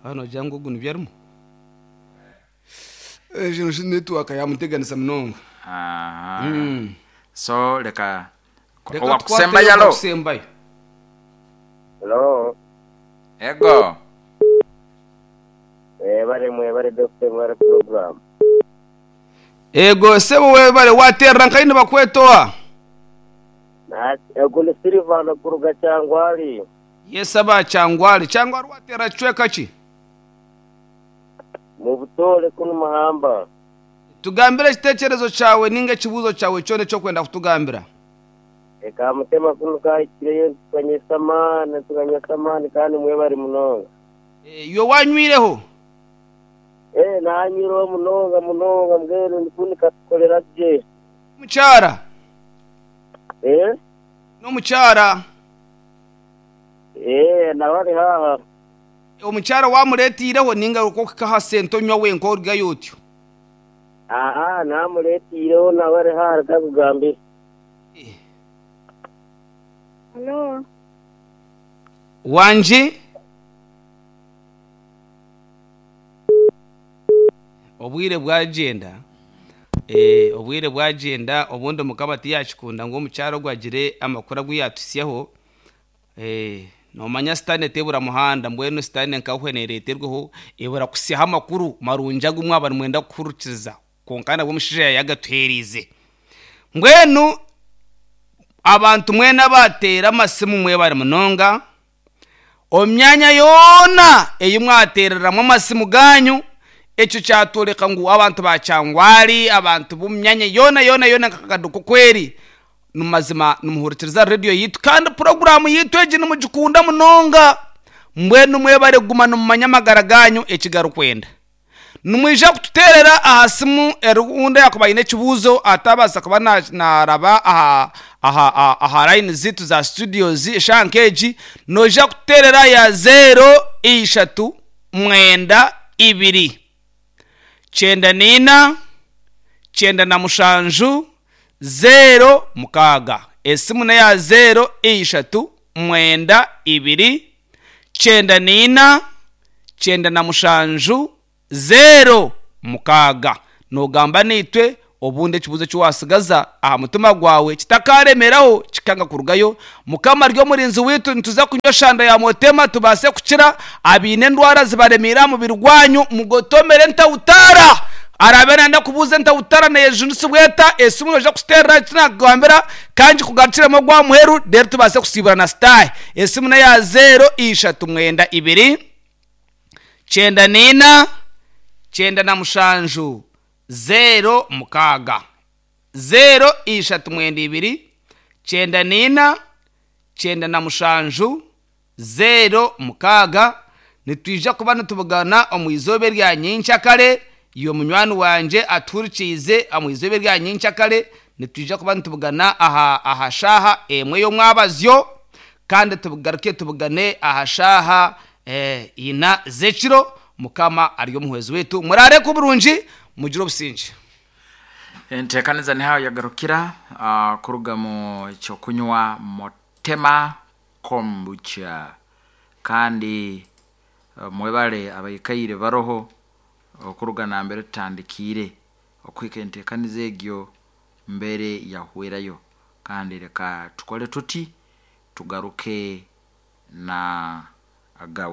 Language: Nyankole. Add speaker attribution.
Speaker 1: Waaba noogira ngu ogu nibyo arimu? Ekyo shi netiwaaka yaamuteganisa munonga.
Speaker 2: Aha. So reka
Speaker 1: Reka
Speaker 2: owakusembayo
Speaker 1: tukwateyo
Speaker 2: alo.
Speaker 1: owakusembayo.
Speaker 3: Hello.
Speaker 2: Ego.
Speaker 3: Mwebale mwebale Doctor mwebale program.
Speaker 1: Ego sebo webale waterera nkahi nibakweta owa?
Speaker 3: Ogu ni Silvano kuruga Kyangwali.
Speaker 1: Yes aba Kyangwali. Kyangwali waterera kicweka ki?
Speaker 3: Mubutoore kunu Mahamba.
Speaker 1: Tugambire ekitekyerezo kyawe ninga ekibuuzo kyawe kyona eki orikwenda kutugambira.
Speaker 3: Reka mutema kunu kahikireyo nitukanyesa amaani nitukanyesa amaani kandi mwebare munonga.
Speaker 1: Iwe wanywireho?
Speaker 3: Ee nanywireho munonga munonga mbwenu nikunu katukorera gye.
Speaker 1: N'omukyara?
Speaker 3: Ee?
Speaker 1: N'omukyara?
Speaker 3: Ee nawe ari haaha.
Speaker 1: Omukyara wamureeteireho ninga orikuhika aha sente onywa wenka orugayo otyo?
Speaker 3: Aa namureeteireho nawe ari haaha reka akugambire.
Speaker 4: Halo.
Speaker 1: Wangi? Obwire bwagyenda, obwire bwagyenda obundi Mukama tiyakikunda ngu omukyara ogu agire amakuru agu yaatuhitsyaho. Noomanya sitaane tebura muhanda mbwenu sitaane nka neereeterwaho ebura kuhitsyaho amakuru marungi agu mwaba nimwenda kuhurikiriza kwonka nabwo omushaija yaayagatuheereize. Mbwenu abantu mwena abaateera amasimu mwebare munonga. Omu myanya yoona ei mwateereramu amasimu gaanyu, ekyo kyatworeka ngu abantu ba Kyangwali, abantu b'omu myanya yoona yoona yoona nka Kaduku oku eri, mazima nimuhurikiriza reediyo yaitu kandi puroguraamu yaitu egi nimugikunda munonga. Mbwenu mwebare kuguma nimumanya amagara gaanyu eki garikwenda. Nimwija kututeerera aha simu orundi yaakuba aine ekibuuzo ataabaasa kuba naaraba aha aha aha layini zaitu za situdiyozi eshaaha nk'egi, noija kututeerera ya zeero ishatu mwenda ibiri, kyenda naina, kyenda na mushanju, zeero mukaaga. Esimu n'eya zeero ishatu mwenda ibiri, kyenda naina, 97, 06. Noogamba naitwe, obundi ekibuuzo eki waatsigaza aha mutima gwawe kitakaaremeraho kikanga kurugayo. Mukama ari omurinzi waitu, nituza kunywa eshanda ya Mutema tubaase kukira. Abaine endwara zibaremeire aha mubiri gwanyu, mugotomere entautaara. Araabe naayenda kubuuza entautaara neeyejunisibwa eta, esimu noija kuziteerera eki naakugambira ka ngikugarukiremu ogwa muheru reero tubaase kusiiburana sitaahe. Esimu n'eya zeero ishatu mwenda ibiri. 94, 97, 06. 0 3 2, 94, 97, 06. Nitwija kuba nitubugana omu izooba erya nyenkyakare. Iwe munywani wangye atuhurikiize omu izooba erya nyenkyakare, nitwija kuba nitubugana aha aha shaaha emwe y'omwabazyo kandi tugaruke tubugane aha shaaha ina z'ekiro. Mukama ari omuhwezi waitu. Muraare kuburungi, mugire obusingye.
Speaker 2: Enteekaniza niho aho yagarukira kuruga mu ky'okunywa Motema Kombucha. Kandi mwebale abaikaire baroho okuruga nambere tutandikiire okuhika enteekaniza egyo mbere yahwerayo. Kandi leka tukole tuti tugaruke na agawe.